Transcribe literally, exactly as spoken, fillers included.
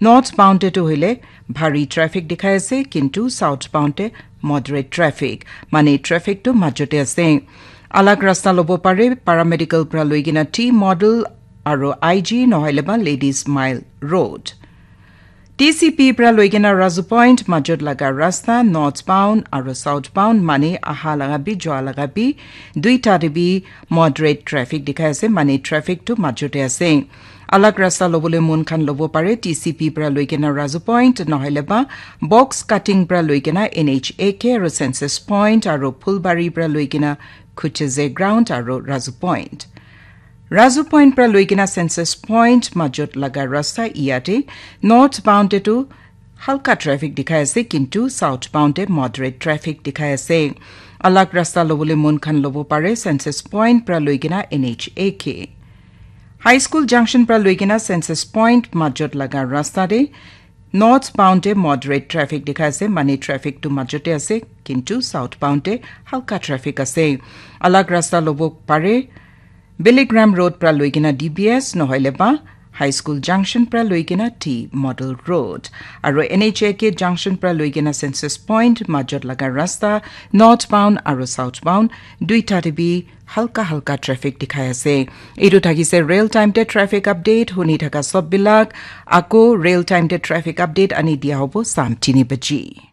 North bound te tu hoile bhari traffic dikhai ase, kintu south bound te moderate traffic, mane traffic tu majot te ase. Alag rasta lobo pare, paramedical pra loikena T model aro I G nohoile ba Ladies Mile Road. T C P pra loikena Razu Point majot laga rasta north bound aro south bound mane aha laga bi jua laga bi duita te bi moderate traffic dikhai ase, mane traffic tu majot te ase. Alag rasta lobole mon khan lobo pare, T C P pra loikena Razu Point nohoile ba box cutting pra loikena N H A K aro census point aro Phulbari pra loikena Khucheze ground aro Razu Point. Razu Point pra loikena census point majot laga rasta iyate north bound te tu halka traffic dikhai ase, kintu south bound te moderate traffic dikhai ase. Alag rasta lobole mon khan lobo pare, census point pra loikena N H A K. High School Junction pra loikena census point majot laga rasta te north bound te moderate traffic dikhai ase, mane traffic tu majot te ase, kintu south bound te halka traffic ase. Alag rasta lobo pare, Billy Graham Road pra loikena D B S nohoile ba High School Junction pra loikena T Model Road. Aro N H A K Junction pra loikena census point majot laga rasta north bound aro south bound duita te bi halka halka traffic dikhai ase. Etu thakise real time te traffic update, huni thaka sob bilak. Ako real time te traffic update ani dia hobo sam tini baji.